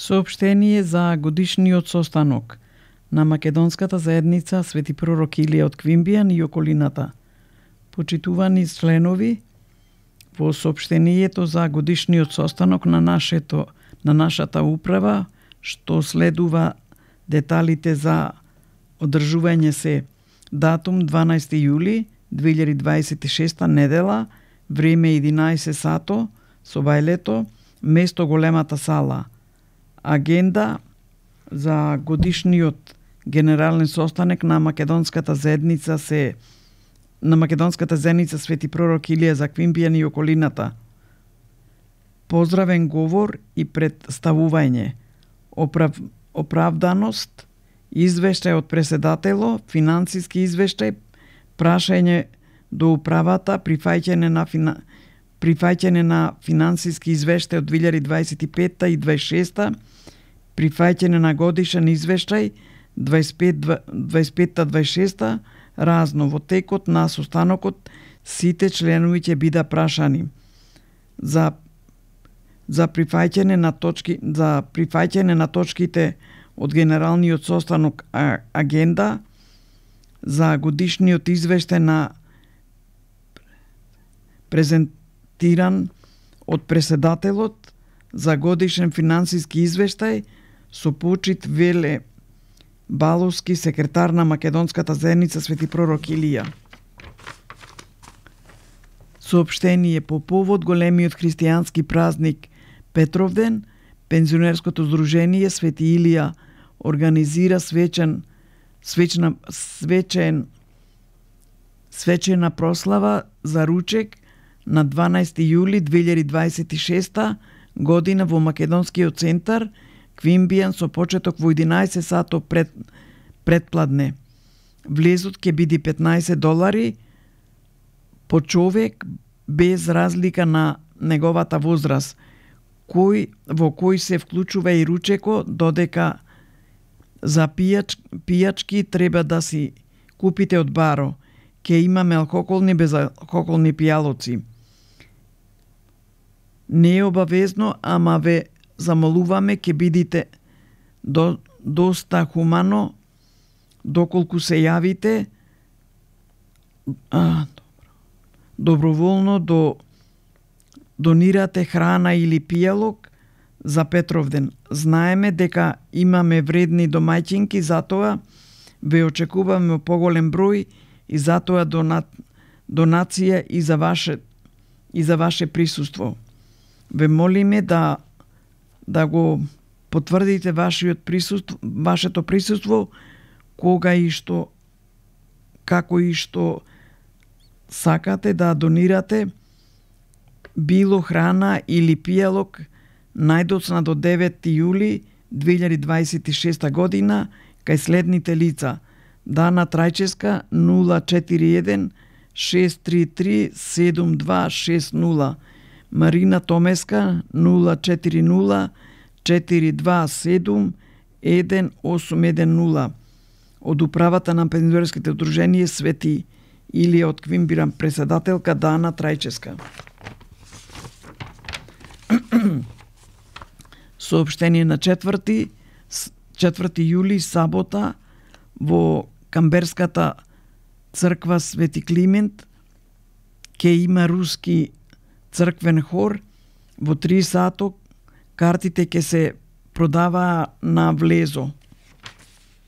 Соопштение за годишниот состанок на македонската заедница Свети пророк Илија од Квимбијан и околината. Почитувани членови, во соопштението за годишниот состанок на нашата управа, што следува деталите за одржување се датум 12 јули 2026 недела, време 11 сато, собајлето, место големата сала. Агенда за годишниот генерален состанок на македонската заедница Свети пророк Илија за Квимбијан и околината. Поздравен говор и представување, оправданост, извештај од преседатело, финансиски извештај, прашање до управата, прифаќање на финансиски извештај од 2025 и 26, прифаќање на годишен извештај 25-26, разно. Во текот на состанокот сите членови ќе бидат прашани за прифаќање на точките од генералниот состанок агенда, за годишниот извештај на презентиран од преседателот, за годишен финансиски извештај со почит Веле Баловски, секретар на македонската заедница Свети пророк Илија. Соопштение по повод големиот христијански празник Петровден, пензионерското здружение Свети Илија организира свечена прослава за ручек на 12 јули 2026 година во Македонскиот центар Квимбијан со почеток во 11 сато предпладне. Влезот ќе биде $15 по човек без разлика на неговата возраст, во кој се вклучува и ручеко, додека за пијачки треба да си купите од баро. Ке имаме алкохолни и безалкохолни пијалоци. Не е обавезно, ама ве замолуваме ке бидите доста хумано доколку се јавите доброволно донирате храна или пијалок за Петровден. Знаеме дека имаме вредни домаќинки, затоа ве очекуваме поголем број и затоа донација и за ваше присуство. Ве молиме да го потврдите вашето присуство кога и што, како и што сакате да донирате било храна или пијалок најдоцна до 9 јули 2026 година кај следните лица: Дана Трајческа 041 633 7260, Марина Томеска 040 427 1810, од управата на пензионерските удружение Свети Илија од Квимбијан, преседателка Дана Трајческа. Соопштение на 4 јули, сабота, во Камберската црква Свети Климент ќе има руски црквен хор во 3 сато. Картите ќе се продаваа на влезо.